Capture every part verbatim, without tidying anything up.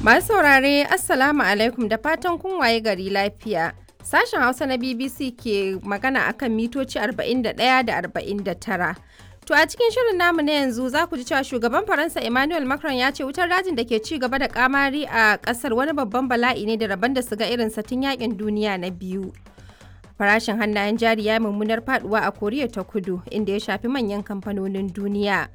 Masu saurare, Assalamu alaikum, da fatan kun waye gari lafiya. Sashen Hausa na B B C ke magana akan mitoci arba'in da ɗaya da arba'in da tara. To, a cikin shirin namu na yanzu za ku ji cewa shugaban Faransa Emmanuel Macron ya ce wutar dajin da ke ci gaba da kamari a kasar wani babban bala'i ne da rabon da su ga irin tun yakin duniya na biyu. Farashin hannayen jari ya mummunar faduwa a Koriya ta Kudu, inda ya shafi manyan kamfanonin duniya.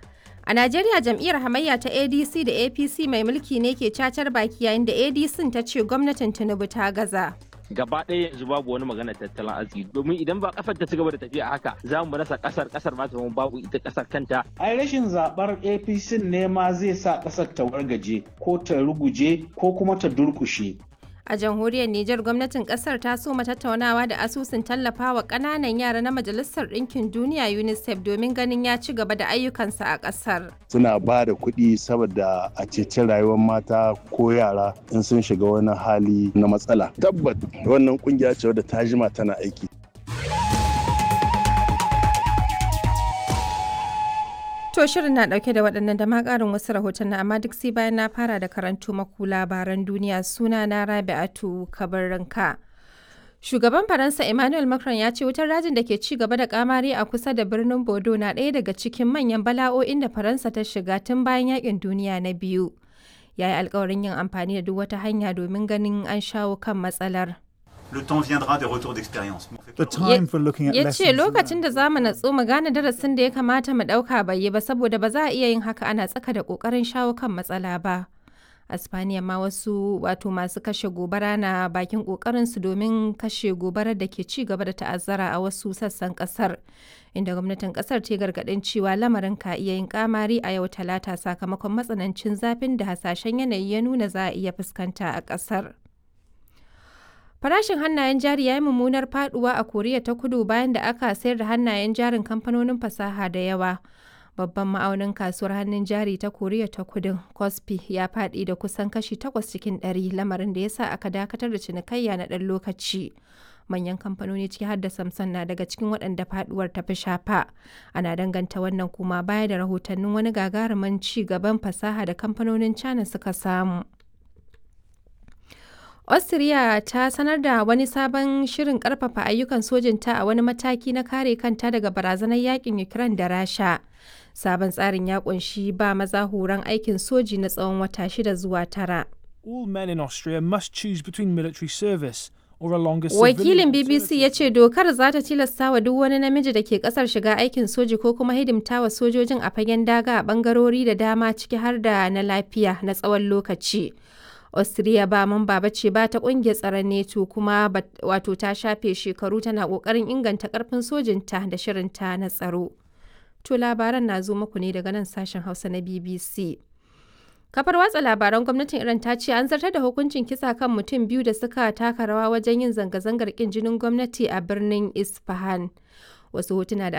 A Najeriya, jam'iyyar hamayya ta A D C da A P C mai mulki ne ke cacar baki, yayin da A D C ta ce gwamnatin Tinubu ta gaza. Gaba ɗaya yanzu babu wani magana tattalin arziki, domin idan ba kasar ta ci gaba da tafiya haka, za mu rasa kasar, kasar ma ta babu ita kasar kanta. Ai rashin zabar A P C ne ma zai sa kasar ta wargaje ko ta ruguje ko kuma ta durkushe. A jamhuriyar Nijar, gwamnatin kasar ta soma tattaunawa da asusun tallafawa ƙananan yara na Majalisar Ɗinkin Duniya UNICEF domin ganin ya ci gaba da ayyukansa a ƙasar. Suna ba da kuɗi saboda a ceci rayuwar mata ko yara in sun shiga wani hali na matsala. Tabbat wannan kungiya ce wadda ta jima tana aiki. To, shirin na dauke da waɗannan da ma ƙarin wasu rahotanni, amma duk sai bayan na fara da karanto maku labaran duniya. Suna na Rabi'atu Kabarranka. Shugaban Faransa Emmanuel Macron ya ce wutar rajin da ke ci gaba da kamari a kusa da birnin Bordeaux na ɗaya daga cikin manyan bala'o'in da Faransa ta shiga tun bayan yakin duniya na biyu. Ya yi alkawarin yin amfani da duk wata hanya domin ganin an shawo kan matsalar. Le temps viendra des retours d'expérience. The time for looking at Ya ce lessons lokacin da za mu natsu mu gane darasin da ya kamata mu ɗauka bai yi ba, saboda ba za a iya yin haka ana tsaka da ƙoƙarin shawo kan matsala ba. A Spaniya ma, wasu wato masu kashe gobara na bakin ƙoƙarinsu domin kashe gobarar da ke ci gaba da ta'azzara a wasu sassan ƙasar, inda gwamnatin ƙasar ta yi gargaɗin cewa lamarin ka iya yin kamari a yau Talata sakamakon matsanancin zafin da hasashen yanayi ya nuna za a iya fuskanta a ƙasar. Farashin hannayen jari ya yi mummunar faduwa a Koriya ta Kudu bayan da aka sayar da hannayen jarin kamfanonin fasaha da yawa. Babban ma'aunin kasuwar hannun jari ta Koriya ta Kudu, Kospi, ya faɗi da kusan kashi takwas cikin ɗari, lamarin da ya sa aka dakatar da cinikayya na ɗan lokaci. Manyan kamfanoni ciki har da Samsung na daga cikin waɗanda faduwar ta fi shafa. Ana danganta wannan kuma baya da rahotannin wani gagarumin ci gaban fasaha da kamfanonin China suka samu. Austria ta sanar da wani sabon shirin karfafa ayyukan sojinta a wani mataki na kare kanta daga barazanar yakin Ukraine da Rasha. Sabon tsarin ya kunshi ba maza horon aikin soji na tsawon wata shida zuwa tara. All men in Austria must choose between military service or a longer Wakilin civilian B B C ya ce dokar za ta tilasta wa duk wani namiji da ke kasar shiga aikin soji ko kuma hidimta wa sojojin a fagen daga a bangarori da dama, ciki har da na lafiya, na tsawon lokaci. Austria ba mamba ba ce ba ta kungiyar tsaron NATO, kuma wato ta shafe shekaru tana kokarin inganta karfin sojinta da shirinta na tsaro. To, labaran na zo muku ne daga nan sashen Hausa na B B C. Kafar watsa labaran gwamnatin Iran ta ce an zartar da hukuncin kisa kan mutum biyu da suka taka rawa wajen yin zanga-zangar kin jinin gwamnati a birnin Isfahan. Wasu hotuna da